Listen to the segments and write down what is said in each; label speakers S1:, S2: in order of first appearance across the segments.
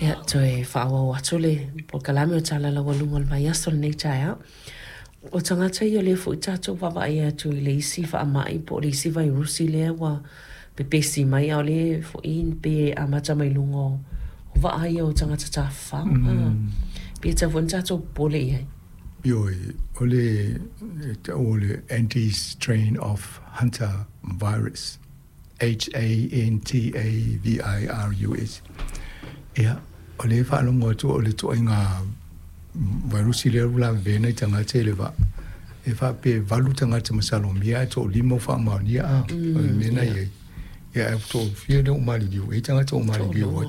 S1: Ia, toe faaauau atu le polokalame o Tala Laualuga o le vaiaso lenei taeao. O tagata ia o lea foi tatou vaavaai atu i le isi faamai po o le isi vairusi lea ua pepesi mai, a o lea foi pe amata mai luga o vaa ia o tagata tafafao. Pe tatau foi ona tatou popole i ai?
S2: Ioe, o le e tau o le anti-strain of Hunter virus, HANTAVIRUS. Ia, o lea e faalogo atu o le ituaiga vairusi lea ua lavevea nai tagata i le vaa, e faapea e 8 tagata masalomia ae toalima ua faamaonia a, o le mea na i ai. Ia, ae toafia lea ua maliliu, e i ai tagata ua maliliu ai.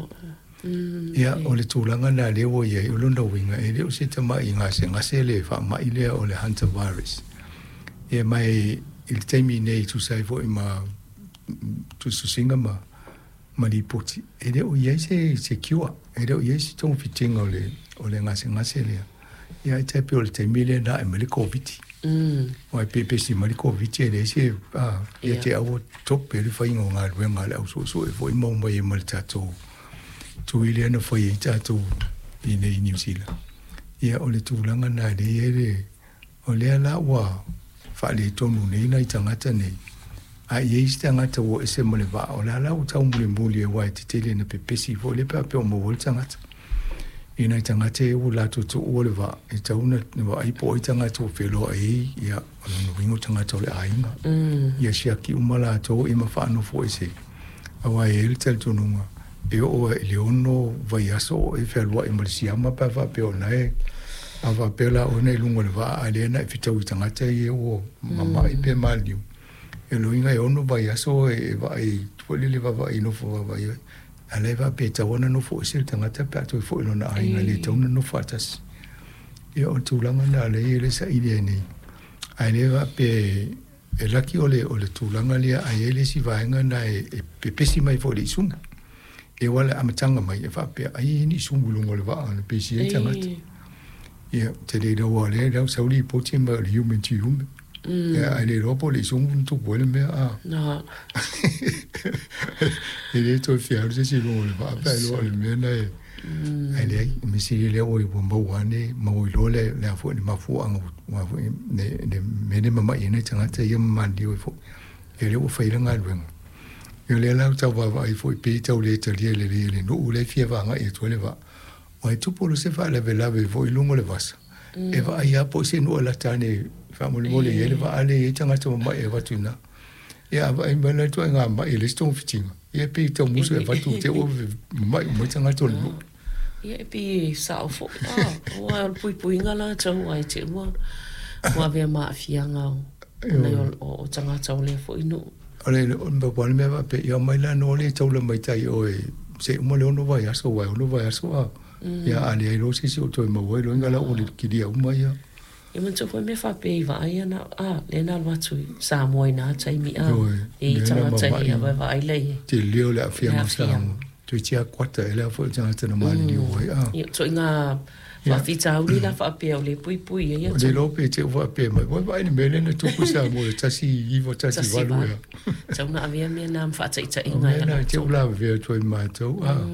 S2: Ia, o le tulaga lena lea ua i ai, o lona uiga, e le o se tamai gasegase le faamai lea o le hantavirus. Ia, ma i le taimi nei e tusa ai foi ma tusitusiga ma lipoti, e le o i ai se cure, e le o i ai se togafitiga o le gasegase lea. Ia, ae tai pei o le taimi lea na ae mai le Koviti. Aua e pepesi mai le Koviti e leai se, ia te au ua tope le faiga o galuega a le au suesue foi ma omai ai ma le tatou tui lea na fai ai tatou i inei i Niu Sila. Ia, o le tulaga lena lea e i ai le, o lea la ua faaletonu nei nai tagata nei, a i ai isi tagata ua ese ma le vaa, o lea la ua taumulimuli aua e tetele ina pepesi foi lea pe a faapea ua maua ai le tagata. I nai tagata ia ua latou tuua le vaa, e tatau ona vaai po o ai tagata ua feloai ai, ia, o lona uiga o tagata o le aiga. Ia siaki uma latou ia ma faanofo ese, aua e i ai le talitonuga, e oo lava i le 6 vaiaso o e fealuai ma le siama pe a faapea o lena e, a faapea la oe na i luga o le vaa a lea na e fetaui i tagata ia ua mamai pe maliliu. E lona uiga e 6 vaiaso e vaai foi lele vaavaai nofo vaavaai ai. A la e faapea e tatau ona nofo ese le tagata pe a toe foi i lona aiga, e le tatau ona nofo faatasi. Ia o le tulaga lena o lea e i ai le saili ai nei. Ae le faapea e laki o le tulaga lea, ae i ai le isi vaega lena e pepesi mai foi i le isumu. E aua le amataga mai e faapea ai e i ai ni isumu i luga o le vaa na pesi ai tagata. Ia, ou te le iloa aua o lea e sau lipoti mai o le human to human. Ia, ae le iloa po o le isumu na tupu ai le mea a. E le toe fia alu se isi i luga o le vaa pe a iloa o le mea lena e. Ae leai, o le mea sili lea ua maua ane, maua iloa le a foi le mafuaaga ua foi le mea lea e mamai ai nai tagata ia ma maliliu ai foi. Ia lea ua fai le galuega. Ia o lea la ua tau vaavaai foi pei e tau le talia lelei e le nuu lea e fia vagai atu ai le vaa. Aua e tupu loa se faalavelave foi i luga o le vasa, e vaai lava po o se nuu e lata ane faamolemole e i ai le vaa lea e i ai tagata mamai e avatu i ina. Ia a vaai mai la le ituaiga mai e leai se togafitiga, ia e pei e tau musu e avatu te i ua mamai uma ai tagata o le nuu.
S1: Ia e pei e sao foi, aua o le puipuiga la tau ai te ua avea ma aafiaga o nai o tagata o lea foi nuu.
S2: O le pau le mea faapea, ia omai la noa le taula mai tai oe se i uma le 6 vaiaso, aua e 6 vaiaso a, ia a leai loa se isi o toe maua ai loa inga la ua kilia uma ia.
S1: Ia manatua foi mea faapea i vaai ana, a, lea na alu atu i Samoa i na taimi, a, e i tagata ia vaai lea i ai.
S2: Tele o le aafiaga o Samoa. Toeitiiti lava kuata ea le a foi o tagata na maliliu ai, a.
S1: Ia, ituaiga faafitauli la faapea o lea e puipui ai
S2: atu. Le iloa pe te i ua faapea mai, ua vaai i le mea lea na tupu i Samoa i le 1918 ea.
S1: Tatau ona avea mea na ma faataitaiga. O mea
S2: na te i ua lavevea atu ai ma matou, a.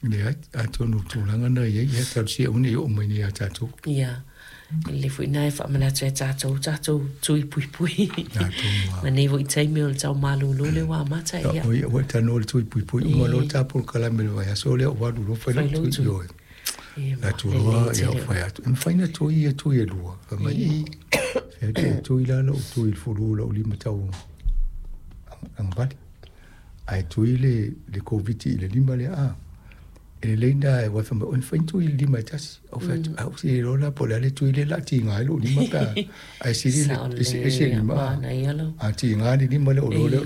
S2: Leai, atonu o le tulaga lena e i ai, ia talosia aua ne i oo mai nei ia tatou.
S1: Ia, e lelei foi lena e faamanatu ia tatou, tatou tui puipui. Ma nei foi taimi o le tau malolo lea ua amata. Ia,
S2: o ia, ua e talanoa i le tui puipui, uma loa le ta polokalame i le vaiaso lea ou alu loa fai lau tui, ioe. La tu loa, ia ou fai atu, e mafai ona tui ia tui e lua. Fai mai, i, fai atu, e tui la lou tui i le fulu o lou lima tau agavali. Ae tui le Koviti i le lima lea, a. E lelei lena aua fai mai, oi fai ni tui i le lima e tasi. Ou fai atu, au se iloa la po o le a le tui lea o le a tiga ai lou lima pe a, ae sili le eseese lima a. A tiga le lima lea, ou iloa lea